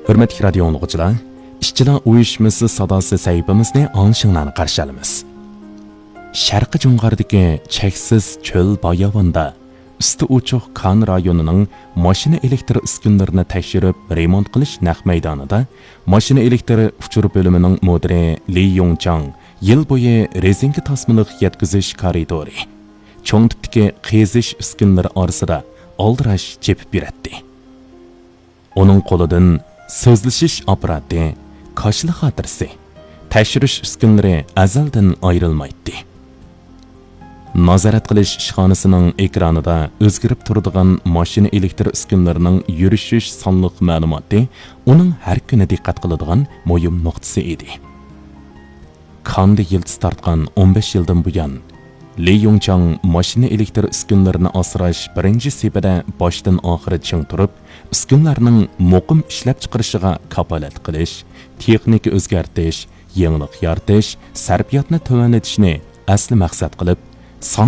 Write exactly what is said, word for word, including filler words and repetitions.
ھۆرمەتلىك رادىيو ئاڭلىغۇچىلار، ئىشچىلار ئۇيۇشمىسى ساداسى سەھىپىمىزنى ئاڭلىشىڭلارنى قارشى ئالىمىز. شەرقىي جۇڭغاردىكى چەكسىز چۆل باياۋاندا ئۈستى ئوچۇق كان رايونىنىڭ ماشىنا ئېلېكتر ئۈسكۈنىلىرىنى تەكشۈرۈپ رېمونت قىلىش نەق مەيدانىدا ماشىنا ئېلېكتر ئۇچۇر بۆلۈمىنىڭ مۇدىرى لى يۇڭچاڭ يىل بويى رېزىنكا تاسمىلىق يەتكۈزۈش كارىدورى، چوڭ تىپتىكى قېزىش ئۈسكۈنىلىرى ئارىسىدا ئالدىراش چېپىپ يۈرەتتى. ئۇنىڭ قولىدىن سۆزلىشىش ئاپپاراتى، كاشىلا خاتىرىسى، تەكشۈرۈش ئۈسكۈنىلىرى ئەزەلدىن ئايرىلمايتتى. نازارەت قىلىش ئىشخانىسىنىڭ ئېكرانىدا ئۆزگىرىپ تۇرىدىغان ماشىنا ئېلېكتر ئۈسكۈنىلىرىنىڭ يۈرۈشۈش سانلىق مەلۇماتى ئۇنىڭ ھەر كۈنى دىققەت قىلىدىغان مۇھىم نۇقتىسى ئىدى. كاندا يىلتىز تارتقان ئون بەش يىلدىن بۇيان، لى يۇڭچاڭ ماشىنا ئېلېكتر ئۈسكۈنىلىرىنى ئاسراش بىرىنچى سېپىدە باشتىن ئاخىر چىڭ تۇرۇپ، ئۈسكۈنىلەرنىڭ مۇقىم ئىشلەپچىقىرىشىغا كاپالەتلىك قىلىش، تېخنىكا ئۆزگەرتىش، يېڭىلىق يارىتىش، سەرپىياتنى تۆۋەنلىتىشنى ئەسلى مەقسەت قىلىپ، سان